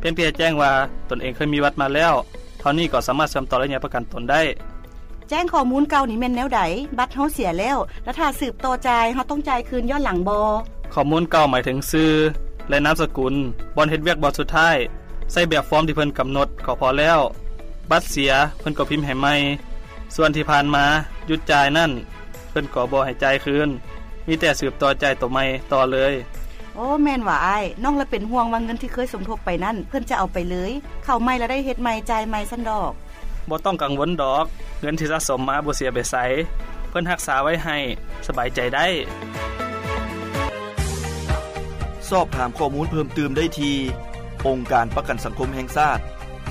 ພຽງແຕ່ແຈ້ງວ່າຕົນເອງເຄີຍມີບັດມາແລ້ວ ເທົ່ານີ້ກໍສາມາດເຊື່ອມຕໍ່ໄລຍະປະກັນຕົນໄດ້. ແຈ້ງຂໍ້ມູນເກົ່ານີ້ແມ່ນແນວໃດ? ບັດເຮົາເສຍແລ້ວ ແລະ ຖ້າສືບຕໍ່ຈ່າຍ ເຮົາຕ້ອງຈ່າຍຄືນຍ້ອນຫຼັງບໍ່? ຂໍ້ມູນເກົ່າໝາຍເຖິງຊື່ ແລະ ນາມສະກຸນ, ບ່ອນເຮັດວຽກບ່ອນສຸດທ້າຍ, ໃຊ້ແບບຟອມທີ່ເພິ່ນກຳນົດກໍພໍແລ້ວ. ບັດເສຍ ເພິ່ນກໍພິມໃຫ້ໃໝ່. ສ່ວນທີ່ຜ່ານມາຢຸດຈ່າຍນັ້ນ ເພິ່ນກໍບໍ່ໃຫ້ຈ່າຍຄືນ, ມີແຕ່ສືບຕໍ່ຈ່າຍໂຕໃໝ່ຕໍ່ເລີຍ. ໂອ້ ແມ່ນຫວາອ້າຍ, ນ້ອງລະເປັນຫ່ວງວ່າເງິນທີ່ເຄີຍສົມທົບໄປນັ້ນ ເພິ່ນຈະເອົາໄປເລີຍ, ເຂົ້າໃໝ່ລະໄດ້ເຮັດໃໝ່, ຈ່າຍໃໝ່ຊັ້ນດອກ. ບໍ່ຕ້ອງກັງວົນດອກ, ເງິນທີ່ສະສົມມາບໍ່ເສຍໄປໃສ, ເພິ່ນຮັກສາໄວ້ໃຫ້, ສະບາຍໃຈໄດ້. ສອບຖາມຂໍ້ມູນເພີ່ມຕື່ມໄດ້ທີ່ ອົງການປະກັນສັງຄົມແຫ່ງຊາດ,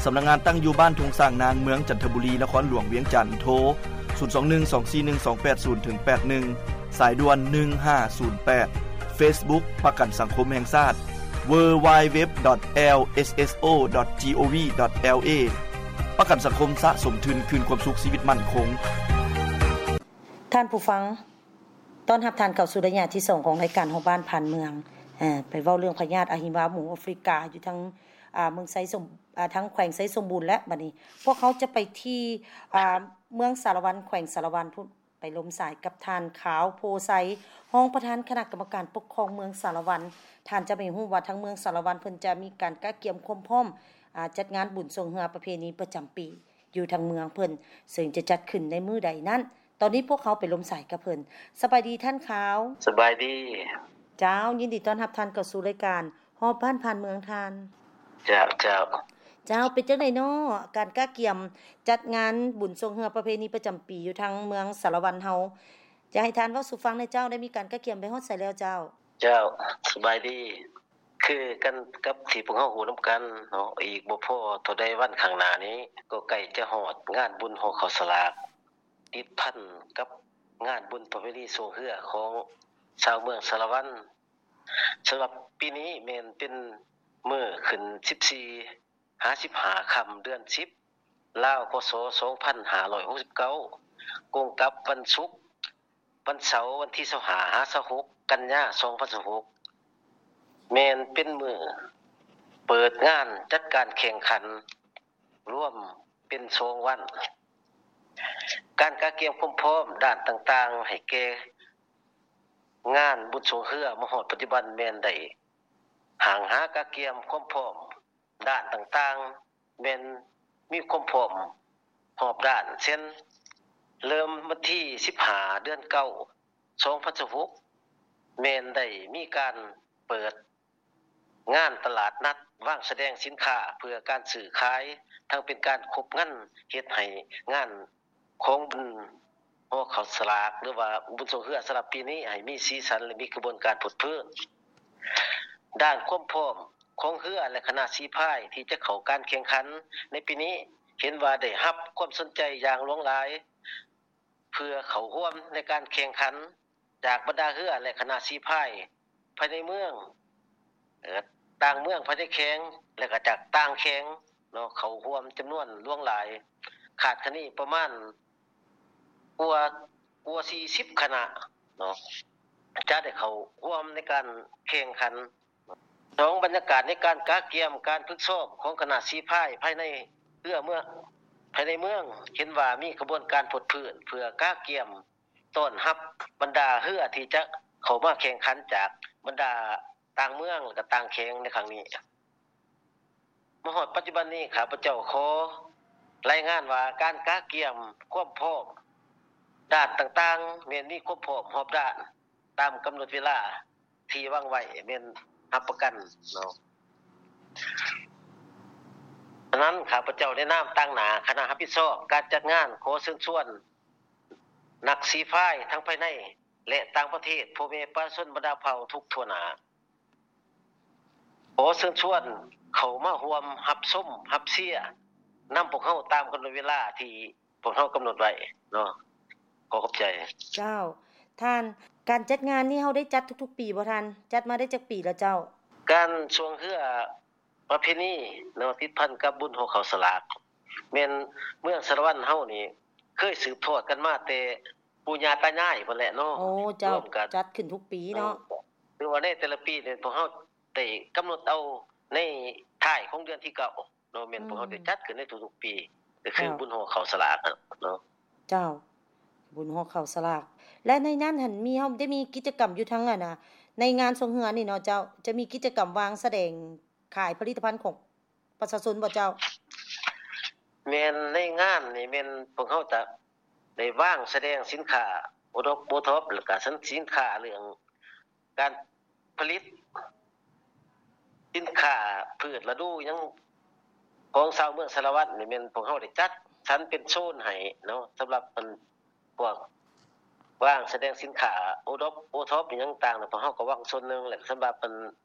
ສຳນັກງານຕັ້ງຢູ່ບ້ານທົ່ງຊ້າງນາງ, ເມືອງຈັນທະບູລີ, ນະຄອນຫຼວງວຽງຈັນ, ໂທ ສູນສອງໜຶ່ງສອງສີ່ໜຶ່ງສອງແປດສູນເຖິງແປດໜຶ່ງ, ສາຍດ່ວນໜຶ່ງຫ້າສູນແປດ, ເຟສບຸກ ປະກັນສັງຄົມແຫ່ງຊາດ, ເວີ ດັບເບິນຢູ ດັບເບິນຢູ ດັບເບິນຢູ ດັບເບິນຢູ ດັບເບິນຢູ ດອດ ຈີໂອວີ ດອດ ແອລເອ. ປະກັນສັງຄົມສະສົມທຶນຄືນຄວາມສຸກຊີວິດໝັ້ນຄົງ. ທ່ານຜູ້ຟັງ, ຕ້ອນຮັບທ່ານເຂົ້າສູ່ໄລຍະທີສອງຂອງລາຍການຮອບບ້ານຜ່ານເມືອງ, ເອີ ໄປເວົ້າເລື່ອງພະຍາດອະຫິວາໝູອາຟຣິກາຢູ່ທາງ ອ່າ ເມືອງໄຊສົມ ອ່າ ທາງແຂວງໄຊສົມບູນ. ແລະ ບັດນີ້ພວກເຮົາຈະໄປທີ່ ອ່າ ເມືອງສາລະວັນ ແຂວງສາລະວັນພຸ້ນ, ໄປລົມສາຍກັບທ່ານ ຂາວ ໂພໄຊ, ຮອງປະທານຄະນະກຳມະການປົກຄອງເມືອງສາລະວັນ. ທ່ານຈະໄປຮູ້ວ່າທາງເມືອງສາລະວັນເພິ່ນຈະມີການກະກຽມຄວາມພ້ອມ ອ່າ ຈັດງານບຸນຊ່ວງເຮືອປະເພນີປະຈຳປີ ຢູ່ທາງເມືອງເພິ່ນ, ເຊິ່ງຈະຈັດຂຶ້ນໃນມື້ໃດນັ້ນ. ຕອນນີ້ພວກເຮົາໄປລົມສາຍກັບເພິ່ນ. ສະບາຍດີທ່ານຂາວ. ສະບາຍດີ. ເຈົ້າ, ຍິນດີຕ້ອນຮັບທ່ານເຂົ້າສູ່ລາຍການຮອບບ້ານຜ່ານເມືອງທ່ານ. ເຈົ້າ, ເຈົ້າ. ເຈົ້າ, ເປັນຈັ່ງໃດເນາະ ການກະກຽມຈັດງານບຸນຊ່ວງເຮືອປະເພນີປະຈຳປີຢູ່ທາງເມືອງສາລະວັນເຮົາ? ຈະໃຫ້ທ່ານເວົ້າສູ່ຟັງແດ່ເຈົ້າ, ໄດ້ມີການກະກຽມໄປຮອດໃສແລ້ວເຈົ້າ? ເຈົ້າ, ສະບາຍດີ. ຄືກັນກັບທີ່ພວກເຮົາຮູ້ນຳກັນເນາະ, ອີກບໍ່ພໍເທົ່າໃດວັນຂ້າງໜ້ານີ້ ກໍໃກ້ຈະຮອດງານບຸນຫໍ່ເຂົ້າສະຫຼາກ ຕິດພັນກັບງານບຸນປະເວນີຊ່ວງເຮືອຂອງຊາວເມືອງສາລະວັນ. ສຳລັບປີນີ້ແມ່ນເປັນມື້ຂຶ້ນສິບສີ່ ຫາສິບຫ້າຄ່ຳເດືອນສິບ ລາວ ພ.ສ. ສອງພັນຫ້າຮ້ອຍຫົກສິບເກົ້າ ກົງກັບວັນສຸກ ວັນເສົາ ວັນທີຊາວຫ້າ ຫາຊາວຫົກ ກັນຍາ ສອງພັນຊາວຫົກ ແມ່ນເປັນມື້ເປີດງານຈັດການແຂ່ງຂັນ ລວມເປັນສອງວັນ. ການກະກຽມຄວາມພ້ອມດ້ານຕ່າງໆ ໃຫ້ແກ່ງານບຸນຊ່ວງເຮືອມາຮອດປັດຈຸບັນແມ່ນໄດ້ ຫ້າງຫາກະກຽມຄວາມພ້ອມດ້ານຕ່າງໆ ແມ່ນມີຄວາມພ້ອມຮອບດ້ານ ເຊັ່ນ ເລີ່ມວັນທີສິບຫ້າ ເດືອນເກົ້າ ສອງພັນຊາວຫົກ ແມ່ນໄດ້ມີການເປີດງານຕະຫຼາດນັດ ວາງສະແດງສິນຄ້າເພື່ອການຊື້ຂາຍ, ທັງເປັນການຄົບງັນ ເຮັດໃຫ້ງານ ຂອງບຸນຫໍ່ເຂົ້າສະຫຼາກ ຫຼືວ່າບຸນຊ່ວງເຮືອສຳລັບປີນີ້ ໃຫ້ມີສີສັນ ແລະ ມີຂະບວນການເພີດເພີນ. ດ້ານຄວາມພ້ອມຂອງເຮືອ ແລະ ຄະນະສີພາຍທີ່ຈະເຂົ້າການແຂ່ງຂັນໃນປີນີ້ ເຫັນວ່າໄດ້ຮັບຄວາມສົນໃຈຢ່າງຫຼວງຫຼາຍ ເພື່ອເຂົ້າຮ່ວມໃນການແຂ່ງຂັນ ຈາກບັນດາເຮືອ ແລະ ຄະນະສີພາຍ ພາຍໃນເມືອງ, ເອີ ຕ່າງເມືອງພາຍໃນແຂວງ ແລະ ກະຈາກຕ່າງແຂວງເນາະ ເຂົ້າຮ່ວມຈຳນວນຫຼວງຫຼາຍ, ຄາດຄະເນປະມານກວ່າ ກວ່າສີ່ສິບຄະນະເນາະ ຈະໄດ້ເຂົ້າຮ່ວມໃນການແຂ່ງຂັນ. ສອງ ບັນຍາກາດໃນການກະກຽມການຝຶກຊ້ອມຂອງຄະນະສີພາຍພາຍໃນເຮືອເມືອງ, ພາຍໃນເມືອງ ເຫັນວ່າມີຂະບວນການເພີດເພີນ ເພື່ອກະກຽມ ຕ້ອນຮັບບັນດາເຮືອທີ່ຈະເຂົ້າມາແຂ່ງຂັນຈາກບັນດາຕ່າງເມືອງ ແລະ ກະຕ່າງແຂວງໃນຄັ້ງນີ້. ມາຮອດປັດຈຸບັນນີ້ ຂ້າພະເຈົ້າຂໍລາຍງານວ່າ ການກະກຽມຄວາມພ້ອມດ້ານຕ່າງໆ ແມ່ນມີຄວາມພ້ອມຮອບດ້ານຕາມກຳນົດເວລາທີ່ວາງໄວ້ ແມ່ນຮັບປະກັນເນາະ. ສະນັ້ນ ຂ້າພະເຈົ້າໃນນາມຕາງໜ້າຄະນະຮັບຜິດຊອບການຈັດງານ ຂໍເຊີນຊວນ ນັກສີພາຍທັງພາຍໃນ ແລະ ຕ່າງປະເທດ, ພໍ່ແມ່ປະຊາຊົນບັນດາເຜົ່າທຸກທົ່ວໜ້າ ຂໍເຊີນຊວນເຂົ້າມາຮ່ວມຮັບຊົມຮັບເຊຍນຳພວກເຮົາຕາມກຳນົດເວລາທີ່ພວກເຮົາກຳນົດໄວ້ເນາະ. ຂໍຂອບໃຈ. ເຈົ້າ. ທ່ານ, ການຈັດງານນີ້ເຮົາໄດ້ຈັດທຸກໆປີບໍ່ທ່ານ? ຈັດມາໄດ້ຈັກປີແລ້ວເຈົ້າ? ການຊ່ວງເຮືອ ປະເພນີເນາະ ຕິດພັນກັບບຸນຫໍ່ເຂົ້າສະຫຼາກ ແມ່ນເມືອງສາລະວັນເຮົານີ້ ເຄີຍສືບທອດກັນມາແຕ່ປູ່ຍ່າຕາຍາຍພຸ້ນແຫຼະເນາະ. ໂອ້ ເຈົ້າ ຮ່ວມກັນ ຈັດຂຶ້ນທຸກປີເນາະ. ເອີ ຖືວ່າໃນແຕ່ລະປີນີ້ ພວກເຮົາໄດ້ກຳນົດເອົາໃນທ້າຍຂອງເດືອນທີເກົ້າເນາະ, ແມ່ນ ອືມ ພວກເຮົາໄດ້ຈັດຂຶ້ນໃນທຸກໆປີ ກໍຄື ເຈົ້າ ບຸນຫໍ່ເຂົ້າສະຫຼາກເນາະ. ເຈົ້າ ບຸນຫໍ່ເຂົ້າສະຫຼາກ ແລະ ໃນນັ້ນຫັ້ນມີ ເຮົາໄດ້ມີກິດຈະກຳຢູ່ທາງ ອັນນ່າ ໃນງານຊ່ວງເຮືອນີ້ເນາະເຈົ້າ ຈະມີກິດຈະກຳວາງສະແດງ ຂາຍຜະລິດຕະພັນຂອງປະຊາຊົນບໍ່ເຈົ້າ? ແມ່ນ, ໃນງານນີ້ແມ່ນພວກເຮົາຈະໄດ້ວາງສະແດງສິນຄ້າໂອດອບໂອທັອບ ແລ້ວກະສິນຄ້າເລື່ອງການຜະລິດສິນຄ້າພືດລະດູຫຍັງຂອງຊາວເມືອງສາລະວັນນີ້ ແມ່ນພວກເຮົາໄດ້ຈັດສັນເປັນໂຊນໃຫ້ເນາະ ສຳລັບອັນ ພວກວາງສະແດງສິນຄ້າໂອດອບໂອທັອບຫຍັງຕ່າງໆ ພວກເຮົາກໍວາງສ່ວນໜຶ່ງ ແລະ ສຳລັບອັນ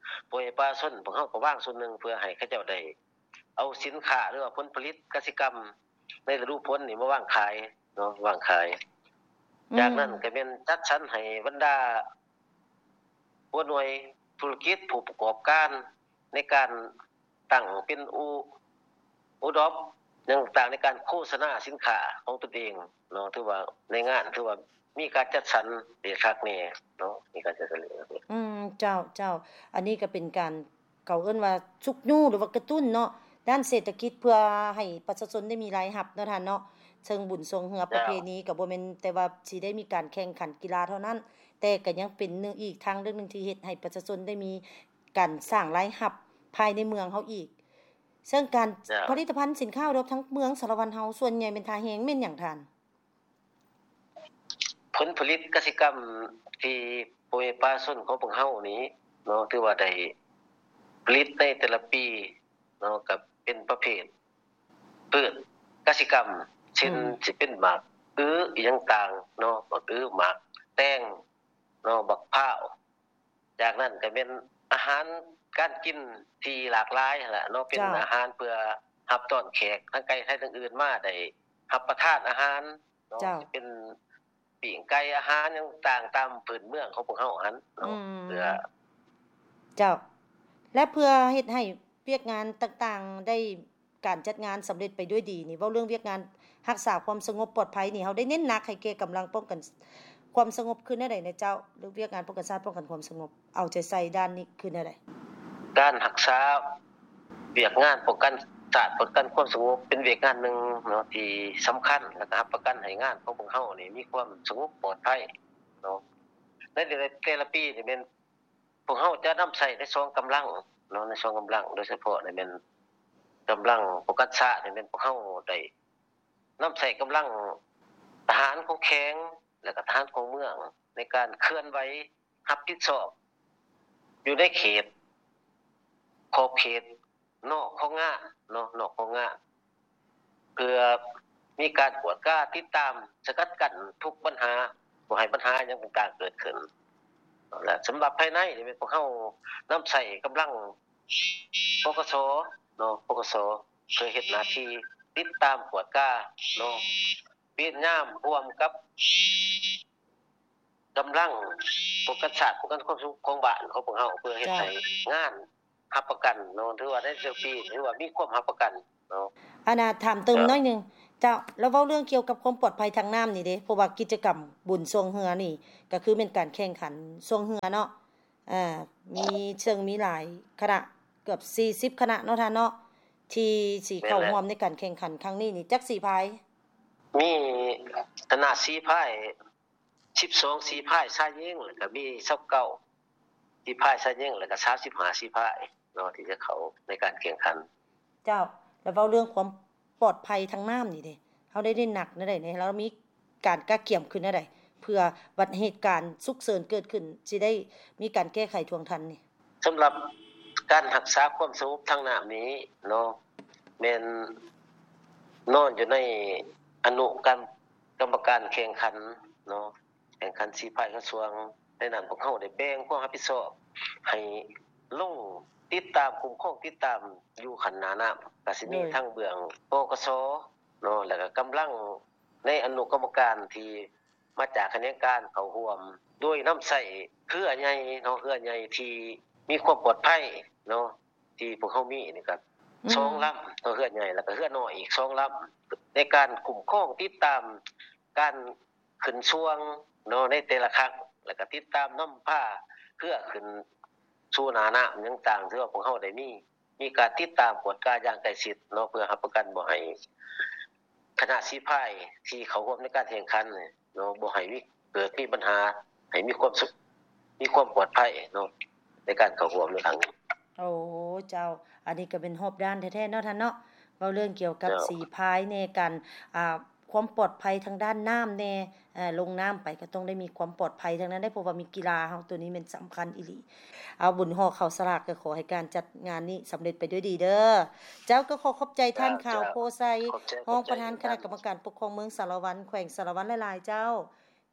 ພວກປະຊາຊົນ ພວກເຮົາກໍວາງສ່ວນໜຶ່ງ ເພື່ອໃຫ້ເຂົາເຈົ້າໄດ້ເອົາສິນຄ້າ ຫຼືວ່າຜົນຜະລິດກະສິກຳໃນລະດູຝົນນີ້ມາວາງຂາຍເນາະ ວາງຂາຍ. ອືມ ຈາກນັ້ນກໍແມ່ນຈັດສັນໃຫ້ບັນດາຫົວໜ່ວຍທຸລະກິດ ຜູ້ປະກອບການໃນການ ຕັ້ງເປັນໂອ ໂອດອບຫຍັງຕ່າງໃນການໂຄສະນາສິນຄ້າຂອງຕົນເອງເນາະ. ຖືວ່າໃນງານຖືວ່າມີການຈັດສັນເດະຄັກແນ່ເນາະ ມີການຈັດສັນເດະຄັກແນ່. ອືມ ເຈົ້າ ເຈົ້າ ອັນນີ້ກໍເປັນການ ເຂົາເອີ້ນວ່າຊຸກຍູ້ ຫຼືວ່າກະຕຸ້ນເນາະ ດ້ານເສດຖະກິດ ເພື່ອໃຫ້ປະຊາຊົນໄດ້ມີລາຍຮັບເນາະທ່ານເນາະ. ເຊິ່ງບຸນຊ່ວງເຮືອປະເພນີ ເຈົ້າ ກໍບໍ່ແມ່ນແຕ່ວ່າຊິໄດ້ມີການແຂ່ງຂັນກິລາເທົ່ານັ້ນ ແຕ່ກໍຍັງເປັນໜຶ່ງ ອີກທາງເລືອກໜຶ່ງທີ່ເຮັດໃຫ້ປະຊາຊົນໄດ້ມີ ການສ້າງລາຍຮັບພາຍໃນເມືອງເຮົາອີກ. ເຊິ່ງການ ເຈົ້າ ຜະລິດຕະພັນສິນຄ້າໂອດອບທາງເມືອງສາລະວັນເຮົາ ສ່ວນໃຫຍ່ແມ່ນທ່າແຮງແມ່ນຫຍັງທ່ານ? ຜົນຜະລິດກະສິກຳທີ່ພໍ່ແມ່ປະຊາຊົນຂອງພວກເຮົານີ້ເນາະ ຖືວ່າໄດ້ຜະລິດໃນແຕ່ລະປີເນາະ ກໍເປັນປະເພດພືດກະສິກຳ ເຊັ່ນ ອືມ ຊິເປັນໝາກອຶ ອີ່ຫຍັງຕ່າງເນາະ ໝາກອຶ ໝາກແຕງເນາະ ບັກພ້າວ ຈາກນັ້ນກໍແມ່ນອາຫານ ການກິນທີ່ຫຼາກຫຼາຍຫັ້ນລະເນາະ, ເປັນ ເຈົ້າ ອາຫານເພື່ອຮັບຕ້ອນແຂກທັງໄກໄທທັງອື່ນມາໄດ້ຮັບປະທານອາຫານເນາະ, ເຈົ້າ ຊິເປັນປີ້ງໄກ່ອາຫານຫຍັງຕ່າງຕາມພື້ນເມືອງຂອງພວກເຮົາຫັ້ນເນາະ ອືມ ເພື່ອ ເຈົ້າ ແລະ ເພື່ອເຮັດໃຫ້ວຽກງານຕ່າງໆໄດ້ ການຈັດງານສຳເລັດໄປດ້ວຍດີນີ້ ເວົ້າເລື່ອງວຽກງານຮັກສາຄວາມສະຫງົບປອດໄພນີ້ ເຮົາໄດ້ເນັ້ນໜັກໃຫ້ແກ່ກຳລັງປ້ອງກັນຄວາມສະຫງົບຄືແນວໃດນະເຈົ້າ ຫຼືວຽກງານປ້ອງກັນຊາດ ປ້ອງກັນຄວາມສະຫງົບ ເອົາໃຈໃສ່ດ້ານນີ້ຄືແນວໃດ? ການຮັກສາວຽກງານປ້ອງກັນຊາດ ປ້ອງກັນຄວາມສະຫງົບ ເປັນວຽກງານໜຶ່ງເນາະ ທີ່ສຳຄັນ ແລະ ກໍຮັບປະກັນໃຫ້ງານຂອງພວກເຮົານີ້ມີຄວາມສະຫງົບປອດໄພເນາະ. ໃນແຕ່ລະປີນີ້ແມ່ນ ພວກເຮົາຈະນຳໃຊ້ໃນສອງກຳລັງເນາະ ໃນສອງກຳລັງ ໂດຍສະເພາະນີ້ແມ່ນກຳລັງປ້ອງກັນຊາດນີ້ແມ່ນພວກເຮົາໄດ້ນຳໃຊ້ກຳລັງທະຫານຂອງແຂວງ ແລະ ກະທະຫານຂອງເມືອງ ໃນການເຄື່ອນໄຫວຮັບຜິດຊອບຢູ່ໃນເຂດ ຂອບເຂດ ນອກຂອງງານເນາະ ນອກຂອງງານ ເພື່ອມີການກວດກາຕິດຕາມສະກັດກັ້ນທຸກບັນຫາ ບໍ່ໃຫ້ບັນຫາຫຍັງຕ່າງໆເກີດຂຶ້ນ. ແລະ ສຳລັບພາຍໃນນີ້ແມ່ນພວກເຮົານຳໃຊ້ກຳລັງ ປກສ ເນາະ ປກສ ເພື່ອເຮັດໜ້າທີ່ຕິດຕາມກວດກາເນາະ ເວນຍາມຮ່ວມກັບ ກຳລັງປ້ອງກັນຊາດ ປ້ອງກັນຄວາມສະຫງົບຂອງບ້ານຂອງພວກເຮົາ ເພື່ອເຮັດໃຫ້ງານຮັບປະກັນເນາະ ຖືວ່າໃນແຕ່ລະປີ ຖືວ່າມີຄວາມຮັບປະກັນເນາະ. ອັນນ່າ ຖາມເຕີມໜ້ອຍໜຶ່ງ ເຈົ້າ ລະເວົ້າເລື່ອງກ່ຽວກັບຄວາມປອດໄພທາງນ້ຳນີ້ເດ້ ເພາະວ່າກິດຈະກຳບຸນຊ່ວງເຮືອນີ້ ກໍຄືແມ່ນການແຂ່ງຂັນຊ່ວງເຮືອເນາະ ອ່າ ມີ ເຊິ່ງມີຫຼາຍຄະນະ ເກືອບສີ່ສິບຄະນະເນາະທ່ານເນາະ ທີ່ຊິເຂົ້າຮ່ວມໃນການແຂ່ງຂັນຄັ້ງນີ້ນີ້ ຈັກສີພາຍ? ມີຄະນະສີພາຍ ສິບສອງສີພາຍຊາຍຍິງ ແລ້ວກະມີຊາວເກົ້າສີພາຍຊາຍຍິງ ແລ້ວກະສາມສິບຫ້າສີພາຍເນາະ ທີ່ຈະເຂົ້າໃນການແຂ່ງຂັນ. ເຈົ້າ ແລ້ວເວົ້າເລື່ອງຄວາມປອດໄພທາງນ້ຳນີ້ເດ້ ເຮົາໄດ້ເນັ້ນໜັກແນວໃດແດ່ ແລ້ວມີການກະກຽມຂຶ້ນແນວໃດ ເພື່ອບັດເຫດການສຸກເສີນເກີດຂຶ້ນ ຊິໄດ້ມີການແກ້ໄຂທ່ວງທັນນີ້? ສຳລັບການຮັກສາຄວາມສະຫງົບທາງນ້ຳນີ້ເນາະ ແມ່ນນອນຢູ່ໃນອະນຸກຳ ກຳມະການແຂ່ງຂັນເນາະ ແຂ່ງຂັນສີພາຍກະຊວງ ໃນນັ້ນພວກເຮົາໄດ້ແບ່ງຄວາມຮັບຜິດຊອບໃຫ້ລົງຕິດຕາມ ຄຸ້ມຄອງຕິດຕາມຢູ່ຂັ້ນໜ້ານ້ຳ ກະຊິມີທັງເບື້ອງ ປກສ ເນາະ ແລ້ວກະກຳລັງໃນອະນຸກຳມະການທີ່ມາຈາກຂະແໜງການເຂົ້າຮ່ວມ ໂດຍນຳໃຊ້ເຮືອໃຫຍ່ເນາະ ເຮືອໃຫຍ່ທີ່ມີຄວາມປອດໄພເນາະ ທີ່ພວກເຮົາມີນີ້ກະສອງລຳເນາະ ເຮືອໃຫຍ່ ແລ້ວກະເຮືອນ້ອຍອີກສອງລຳ ໃນການຄຸ້ມຄອງຕິດຕາມການ ຂຶ້ນຊ່ວງເນາະ ໃນແຕ່ລະຄັ້ງ ແລ້ວກະຕິດຕາມນຳພາເຮືອຂຶ້ນສູ່ໜ້ານ້ຳຫຍັງຕ່າງ ຖືວ່າພວກເຮົາໄດ້ມີ ມີການຕິດຕາມກວດກາຢ່າງໃກ້ຊິດເນາະ ເພື່ອຮັບປະກັນບໍ່ໃຫ້ຄະນະສີພາຍທີ່ເຂົ້າຮ່ວມໃນການແຂ່ງຂັນເນາະ ບໍ່ໃຫ້ມີ ເກີດມີບັນຫາ ໃຫ້ມີຄວາມສຸກ ມີຄວາມປອດໄພເນາະ ໃນການເຂົ້າຮ່ວມໃນຄັ້ງນີ້. ໂອ້ ເຈົ້າ ອັນນີ້ກະເປັນຮອບດ້ານແທ້ໆເນາະທ່ານເນາະ ເວົ້າເລື່ອງກ່ຽວກັບສີພາຍແດ່ ການ ອ່າ ຄວາມປອດໄພທາງດ້ານນ້ຳແດ່ ເອີ ລົງນ້ຳໄປກະຕ້ອງໄດ້ມີຄວາມປອດໄພທັງນັ້ນເດ້ ເພາະວ່າມີກິລາເຮົາໂຕນີ້ແມ່ນສຳຄັນອີ່ຫຼີ. ເອົາ ບຸນຫໍ່ເຂົ້າສະຫຼາກກະຂໍໃຫ້ການຈັດງານນີ້ສຳເລັດໄປດ້ວຍດີເດີ. ເຈົ້າ ກະຂໍຂອບໃຈທ່ານ ຂາວໂພໄຊ ຮອງປະທານຄະນະກຳມະການປົກຄອງເມືອງສາລະວັນ ແຂວງສາລະວັນຫຼາຍໆເຈົ້າ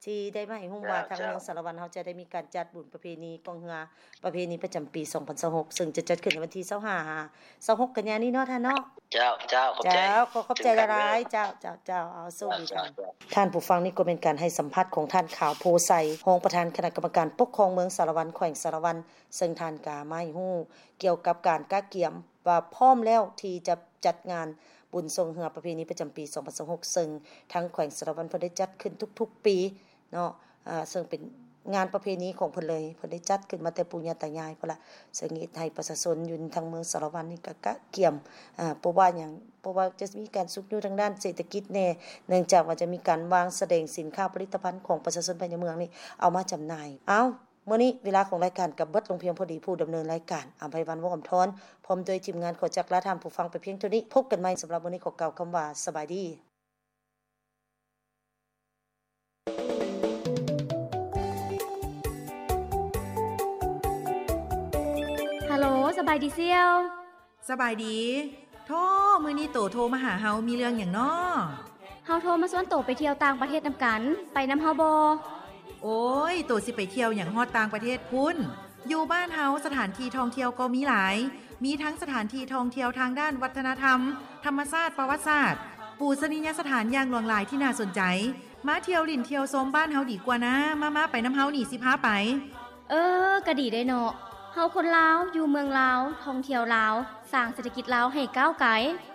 ທີ່ໄດ້ມາໃຫ້ຮູ້ວ່າທາງເມືອງສາລະວັນເຮົາຈະໄດ້ມີການຈັດບຸນປະເພນີກອງເຮືອ ປະເພນີປະຈຳປີສອງພັນຊາວຫົກ ເຊິ່ງຈະຈັດຂຶ້ນໃນວັນທີຊາວຫ້າ ຫາ ຊາວຫົກກັນຍານີ້ເນາະທ່ານເນາະ. ເຈົ້າ ເຈົ້າ ຂອບໃຈ ເຈົ້າ ຂໍຂອບໃຈຫຼາຍໆ ເຈົ້າ ເຈົ້າ ເຈົ້າ ເອົາ ໂຊກດີທ່ານ. ທ່ານຜູ້ຟັງ ນີ້ກໍແມ່ນການໃຫ້ສຳພາດຂອງທ່ານ ຂາວໂພໄຊ ຮອງປະທານຄະນະກຳມະການປົກຄອງເມືອງສາລະວັນ ແຂວງສາລະວັນ ເຊິ່ງທ່ານກະມາໃຫ້ຮູ້ກ່ຽວກັບການກະກຽມວ່າພ້ອມແລ້ວທີ່ຈະຈັດງານບຸນຊ່ວງເຮືອປະເພນີປະຈຳປີສອງພັນຊາວຫົກ ເຊິ່ງທາງແຂວງສາລະວັນເພິ່ນໄດ້ຈັດຂຶ້ນທຸກໆປີ ເນາະ ເຊິ່ງເປັນງານປະເພນີຂອງເພິ່ນເລີຍ ເພິ່ນໄດ້ຈັດຂຶ້ນມາແຕ່ປູ່ຍ່າຕາຍາຍພຸ້ນລະ ເຊິ່ງເຮັດໃຫ້ປະຊາຊົນຢູ່ທາງເມືອງສາລະວັນນີ້ກະກະກຽມ ເພາະວ່າຫຍັງ ເພາະວ່າຈະມີການຊຸກຍູ້ທາງດ້ານເສດຖະກິດແດ່ ເນື່ອງຈາກວ່າຈະມີການວາງສະແດງສິນຄ້າຜະລິດຕະພັນຂອງປະຊາຊົນພາຍໃນເມືອງນີ້ເອົາມາຈຳໜ່າຍ. ເອົ້າ ມື້ນີ້ເວລາຂອງລາຍການກະເບິດລົງພຽງພໍດີ ຜູ້ດຳເນີນລາຍການ ອຳໄພວັນ ວົງອຳທອນ ພ້ອມດ້ວຍທີມງານ ຂໍຈັກລາທ່ານຜູ້ຟັງໄປພຽງເທົ່ານີ້ ພົບກັນໃໝ່ ສຳລັບມື້ນີ້ຂໍກ່າວຄຳວ່າ ສະບາຍດີ. ຮັລໂຫຼ ສະບາຍດີສ່ຽວ. ສະບາຍດີ. ໂທ້ ມື້ນີ້ໂຕໂທມາຫາເຮົາມີເລື່ອງຫຍັງນໍ? ເຮົາໂທມາຊວນໂຕໄປທ່ຽວຕ່າງປະເທດນຳກັນ ໄປນຳເຮົາບໍ່? ໂອ້ຍ ໂຕຊິໄປທ່ຽວຫຍັງຮອດຕ່າງປະເທດພຸ້ນ? ຢູ່ບ້ານເຮົາສະຖານທີ່ທ່ອງທ່ຽວກໍມີຫຼາຍ, ມີທັງສະຖານທີ່ທ່ອງທ່ຽວທາງດ້ານວັດທະນະທຳ, ທຳມະຊາດ, ປະຫວັດສາດ, ປູຊະນີຍະສະຖານຢ່າງຫຼວງຫຼາຍທີ່ໜ້າສົນໃຈ. ມາທ່ຽວຫຼິ້ນທ່ຽວຊົມບ້ານເຮົາດີກວ່ານາ, ມາໆ ໄປນຳເຮົານີ້ ຊິພາໄປ. ເອີ ກະດີເດ້ເນາະ, ເຮົາຄົນລາວ ຢູ່ເມືອງລາວ ທ່ອງທ່ຽວລາວ ສ້າງເສດຖະກິດລາວໃຫ້ກ້າວໄກ.